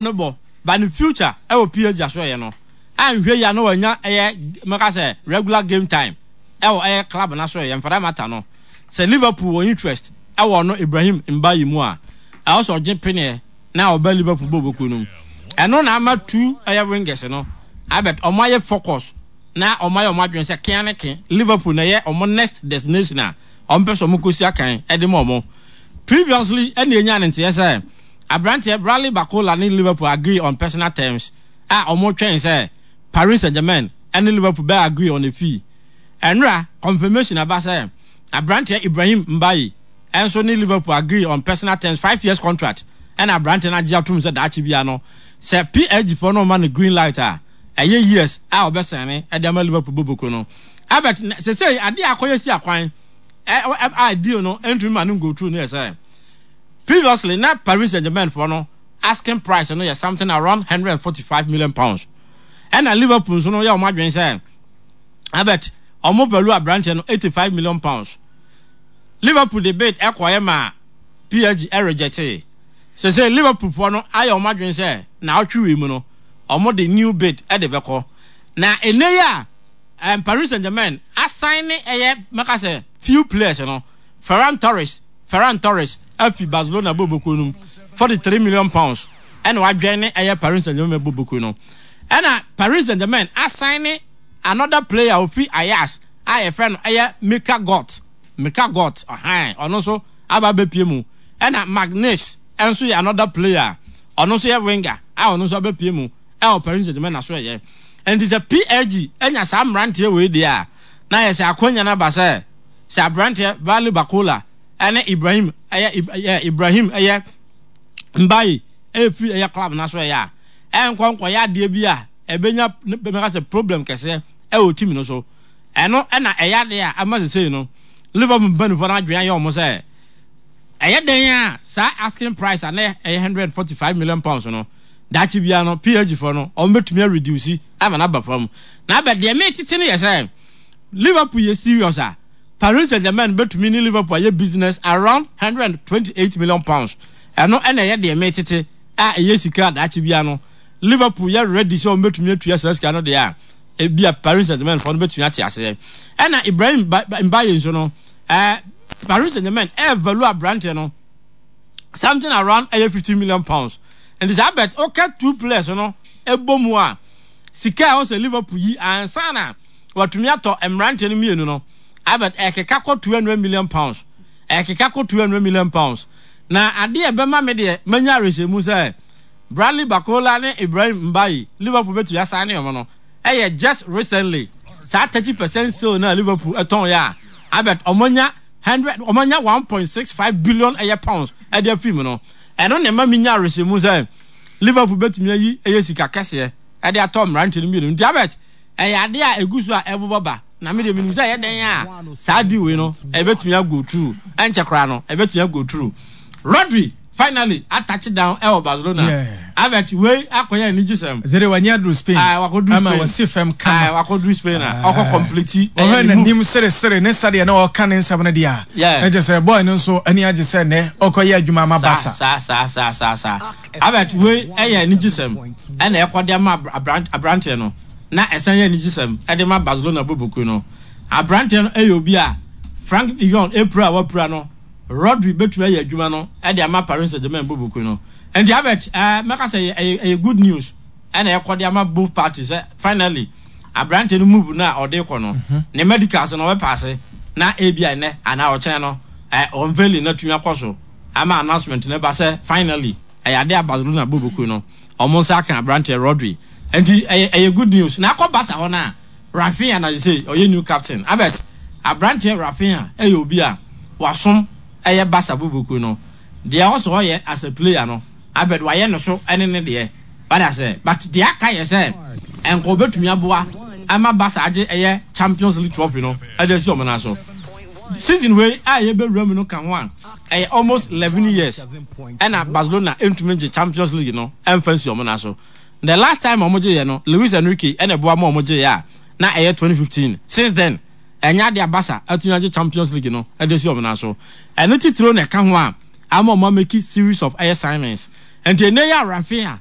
No bɔ but ne future ɛwɔ PSG asoɛyɛ no anhwɛ yie a na wanya ɛyɛ mɛka sɛ regular game time ɛwɔ ɛyɛ club no asoɛyɛ and for that matter no sɛ Liverpool wɔ interest ɛwɔ ɔno Ibrahim Mbaye mu a ɛwɔ sɛ ɔgye peneɛ na ɔba Liverpool bɔ bokuo no mu ɛno na ama two ɛyɛ wingers no abɛt ɔmo ayɛ focus na ɔmo ayɛ ɔmo adwene sɛ kea ne ke Liverpool na ɛyɛ ɔmo next destination a ɔmo pɛ sɛ ɔmo kɔsi akan ɛde ma ɔmo previously ɛna enya ne nteɛ sɛ Aberanteɛ Bradley Barcola ne Liverpool agree on personal terms a wɔretwɛn sɛ Paris Saint-Germain ne Liverpool bɛ agree on a fee. Ɛnora, confirmation aba sɛ aberanteɛ Ibrahim Mbaye nso ne Liverpool agree on personal terms, 5 years contract ɛna aberanteɛ no agye atom sɛ daakye biara no sɛ PSG foɔ no ma no green light a ɛyɛ years a ɔbɛsɛne de ama Liverpool boboko no. Albert, sesei adeɛ a akɔyɛ si akwan a deal no ntumi ma no go through no yɛ sɛ previously na Paris Saint-Germain foɔ no asking price no yɛ something around £145 million, ɛna Liverpool nso no yɛ wɔn adwene sɛ Albert wɔn value aberanteɛ no £85 million. Liverpool de bid ɛkɔɛ ma PSG ɛrejecte. Sese Liverpool foɔ no ayɛ wɔn adwene sɛ na ɔtwe wei mu no wɔn de new bid ɛde bɛkɔ na ene yi a Paris Saint-Germain asan ne ɛyɛ mɛka sɛ few players no, Ferran Torres afi Barcelona bɔbɔkuo no mu, £43 million ɛna wadwɛn ne ɛyɛ Paris Saint-Germain bɔbɔkuo no. Ɛna Paris Saint-Germain asan ne another player ofi Ajax a yɛfrɛ no ɛyɛ Mika Godts. Mika Godts ɔhan ɔno nso aba abɛpie mu. Ɛna Marc Nix nso yɛ another player, ɔno nso yɛ winger a ɔno nso abɛpie mu ɛwɔ Paris Saint-Germain na so ɛyɛ. Nti sɛ PSG anya saa mmeranteɛ wei deɛ a, na yɛ sɛ akwanya no aba sɛ aberanteɛ Bradley Barcola ɛne Ibrahim ɛyɛ Ibrahim ɛyɛ Mbaye ɛfiri ɛyɛ club na so ɛyɛ a ɛnkɔ nkɔyɛ adeɛ bi a ɛbɛnya bɛka sɛ problem kɛseɛ ɛwɔ team no so. Ɛno ɛna ɛyɛ adeɛ a ama sesei no Liverpool mpanimfoɔ no adwene ayɛ wɔn sɛ ɛyɛ dɛn a saa asking price a na ɛyɛ £145 million no, daakye biara no PSG foɔ no wɔn bɛtumi areduce ama no aba fam. Na abɛ deɛ metete no yɛ sɛ Liverpool yɛ serious a, Paris Saint-Germain bɛtumi ne Liverpool ayɛ business around £128 million. Ɛno ɛna ɛyɛ deɛ metete a ɛyɛ sika a daakye biara no Liverpool yɛ ready sɛ wɔn bɛtumi atua saa sika no deɛ a, ebi a Paris Saint-Germain foɔ no bɛtumi ate aseɛ. Ɛna Ibrahim Mbaye nso no, Paris Saint-Germain ɛɛvalue aberanteɛ no something around ɛyɛ £50 million. Nti saa bet ɔka two players no ɛbɔ mu a, sika a ɔsɛ Liverpool yi ansa na watumi atɔ mmeranteɛ no mmienu no, abet ɛkeka kɔ £200 million, ɛkeka kɔ £200 million. Na adeɛ ɛbɛma me deɛ manya awerɛhyɛmu sɛ Bradley Barcola ne Ibrahim Mbaye Liverpool bɛtumi asan ne ɔmo no ɛyɛ just recently saa 30% sale na Liverpool ɛtɔn yɛ a, abet ɔmo anya hundred ɔmo anya 1.65 billion ɛyɛ pounds ɛde afiri mu no. Ɛno na ɛma mi nya awerɛhyɛmu sɛ Liverpool bɛtumi ayi ɛyɛ sika kɛseɛ ɛde atɔ mmeranteɛ no mmienu. Nti abet ɛyɛ adeɛ a egu so a ɛbobɔ ba na mi deɛ minim sɛ ɛyɛ dɛn a saa deal wei no ɛbɛtumi ago through. Ɛnkyɛ koraa no ɛbɛtumi ago through. Rodri finally atouch down ɛwɔ Barcelona. Abet wei akɔyɛ anigye sɛm. Zere wanya aduru Spain. Ah, wakɔduru ama Spain. Wasi fam kama. Ah, wakɔduru Spain a ɔkɔ complete. Ɔhwɛ n'anim seresere ne sɛdeɛ na ɔka ne nsɛm no deɛ a ɛkyɛ sɛ boy no nso ani agye sɛ nnɛ ɔkɔyɛ adwuma ama Barca. Saa. Abet wei ɛyɛ anigye sɛm ɛna ɛkɔde ama aberanteɛ no na ɛsan yɛ anigye sɛm ɛde ma Barcelona bɔbɔkuo no. Aberanteɛ no ɛyɛ obi a Frank de Jong epura a wapura no, Rodri bɛtumi ayɛ adwuma no ɛde ama Paris Saint-Germain bɔbɔkuo no. Nti Abet mɛka sɛ ɛyɛ good news ɛna ɛkɔde ama both parties sɛ finally aberanteɛ no move no a ɔde kɔ no, ne medicals no ɔbɛpaase na ebi a ɛnɛ anaa ɔkyɛn no unveiling no atumi akɔ so ama announcement no ba sɛ finally ɛyɛ ade a Barcelona bɔbɔkuo no ɔmo nsa aka aberanteɛ Rodri. Nti ɛyɛ good news. Na akɔ Barca hɔ no a, Raphinha na sɛ ɔyɛ new captain. Abet aberanteɛ Raphinha ɛyɛ obi a wasom ɛyɛ Barca bɔbɔkuo no deɛ ɔsɛ ɔyɛ as a player no, Abet wayɛ no so ɛne ne deɛ wada sɛ, but deɛ aka yɛ sɛ ɛnka ɔbɛtumi aboa ama Barca agye ɛyɛ Champions League trophy no ɛde asi ɔmo nan so season wei a yɛbɛwura mu no ka ho a, ɛyɛ almost 11 years ɛna Barcelona ntumi ngye Champions League no ɛmfa nsi ɔmo nan so. The last time ɔmo gye yɛ no, Luis Enrique ɛna ɛboa ma ɔmo gye yɛ a na ɛyɛ 2015. Since then ɛnyɛ ade a Barca atumi agye Champions League no ɛde asi ɔmo nan so. Ɛno titiro na ɛka ho a ama ɔmo amake series of ɛyɛ signings. Nti ɛnɛ yɛ a Raphinha